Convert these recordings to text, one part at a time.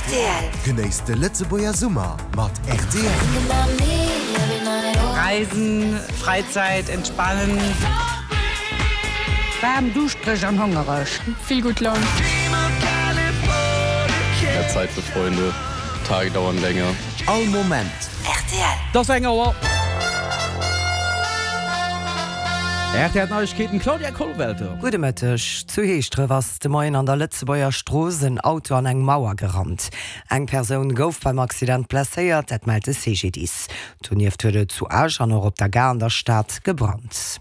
Rtl. Genéisst de Lëtzebuerger Summer mat rtl. Reisen, Freizeit, entspannen. Waarm, duuschtereg an hongereg. Vill gutt Laun. Mehr Zeit für Freunde, Tage dauern länger. All Moment. Rtl. Et ass eng Auer. Rtl Neiegkeeten, Claudia Kollwelter. Gudde Mëtteg. Zu Heeschdref ass de Moien an der Lëtzebuerger Strooss en Auto an eng Mauer gerannt. Eng Persoun gouf beim Accident blesséiert, dat mellt de CGDIS. Donieft huet et zu Esch an och op der Gare an der Stad gebrannt.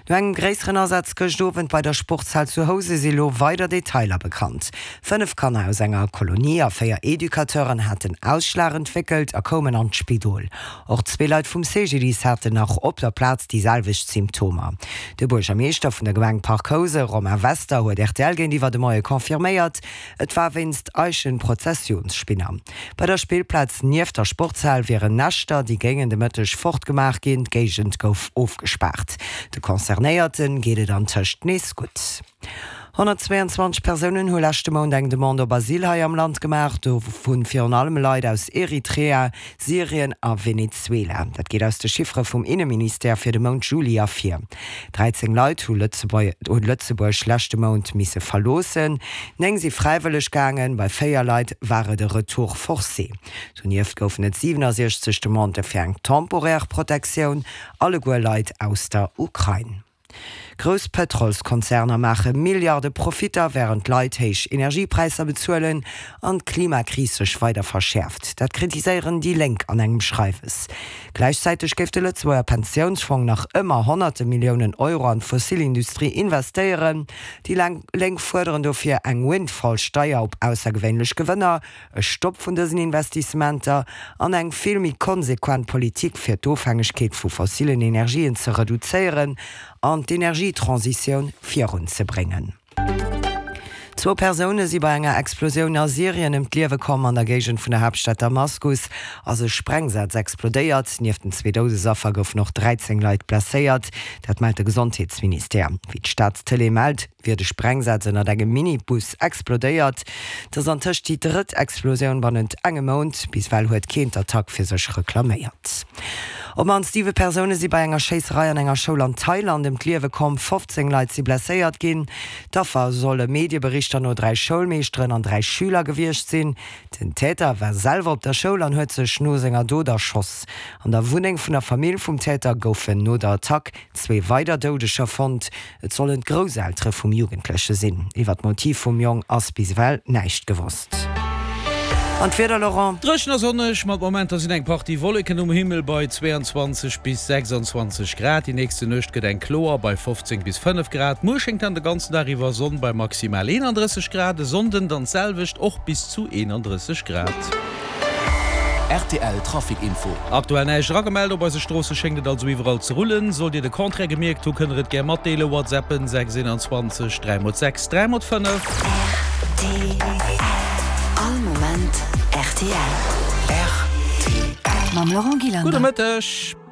No engem gréisseren Asaz gëscht Owend bei der Sportshal zu Housen si lo weider Detailer bekannt. 5 Kanner aus enger Kolonie a 4 Educateuren haten Ausschlag entwéckelt a koumen an d'Spidol. Och zwee Leit vum CGDIS haten nach op der Plaz déi selwecht Symptomer. De Buergermeeschter vun der Gemeng Parc Housen, Romain Wester, huet rtl géintiwwer de Moie confirméiert, et war wéinst Eichenprozessionsspinner. Bei der Spillplaz nieft der Sportshal wieren Näschter, déi géingen de Mëtteg fortgemaach ginn. D'Géigend gouf ofgespaart. De Concernéierte geet et antëscht nees gutt. 122 Persounen hu leschte Mount eng Demande op Asyl hei am Land gemaach, dovu virun allem Leit aus Eritrea, Syrien a Venezuela. Dat geet aus de Chiffere vum Inneministère fir de Mount Juli ervir. 13 Leit hu Lëtzebuerg leschte Mount misse verloossen, 9 si fräiwëlleg gaangen, bei 4 Leit war et e Retour forcé. Donieft goufen et 67 Demandë fir eng temporaire Protektioun, alleguer Leit aus der Ukrain. Grouss Pëtrolskonzerner maache Milliarde Profitter, wärend d'Leit héich Energiepräisser bezuelen an d'Klimakris sech weider verschäerft. Dat kritiséieren déi Lénk an engem Schreiwes. Gläichzäiteg géif de Lëtzebuerger Pensiounsfong nach ëmmer honnerte Milliounen Euro an d'Fossilindustrie investéieren. Déi Lénk fuerderen dofir eng Windfall-Steier op aussergewéinlech Gewënner, e Stopp vun dësen Investissementer an eng vill méi konsequent Politik fir d'Ofhängegkeet vu fossilen Energien ze reduzéieren an d'Energietransitioun virunzebréngen. Zwou Persoune si bei enger Explosioun a Syrien ëm d'Liewe komm. An der Géigend vun der Haaptstad Damaskus ass e Sprengsaz explodéiert. Nieft den zwee Doudesaffer goufen och 13 Leit blesséiert. Dat mellt de Gesondheetsministère. Wéi d'Staatstëlee mellt, wier de Sprengsaz ënnert engem Minibus explodéiert. Et ass antëscht déi drëtt Explosioun bannent engem Mount. Bis ewell huet keen d'Attack fir sech reklaméiert. Op d'mannst 7 Persoune si bei enger Schéisserei an enger Schoul an Thailand ëm d'Liewe komm, 15 Leit si blesséiert ginn. D'Affer solle Medieberichter no 3 Schoulmeeschteren an 3 Schüler gewiescht sinn. Den Täter war selwer op der Schoul an huet sech no senger Dot erschoss. An der Wunneng vun der Famill vum Täter goufen no der Attack zwee weider Doudeger fonnt. Et sollen d'Grousseltere vum Jugendleche sinn. Iwwer d'Motiv vum Jong ass bis ewell näischt gewosst. An d'Wieder, Laurent? Dréchen a sonneg, mat Momenter sinn eng Partie Wolleken um Himmel bei 22 bis 26 Grad. Déi nächste Nuecht gëtt eng kloer bei 15 bis 5 Grad. Muer schéngt dann de ganzen Dag iwwer Sonn bei maximal 31 Grad. E Sonnden dann d'selwecht, och bis zu 31 Grad. Rtl Trafic Info. Aktuell näischt eragemellt, op eise Stroosse schéngt et also iwwerall ze rullen. Sollt Dir de Contraire gemierkt hu, kënnt der et gär matdeelen, WhatsAppen 6 21 3 x 6 3 x 5. Rtl, All Moment rtl. Rtl. Mam Laurent Gillander. Gudde Mëtteg.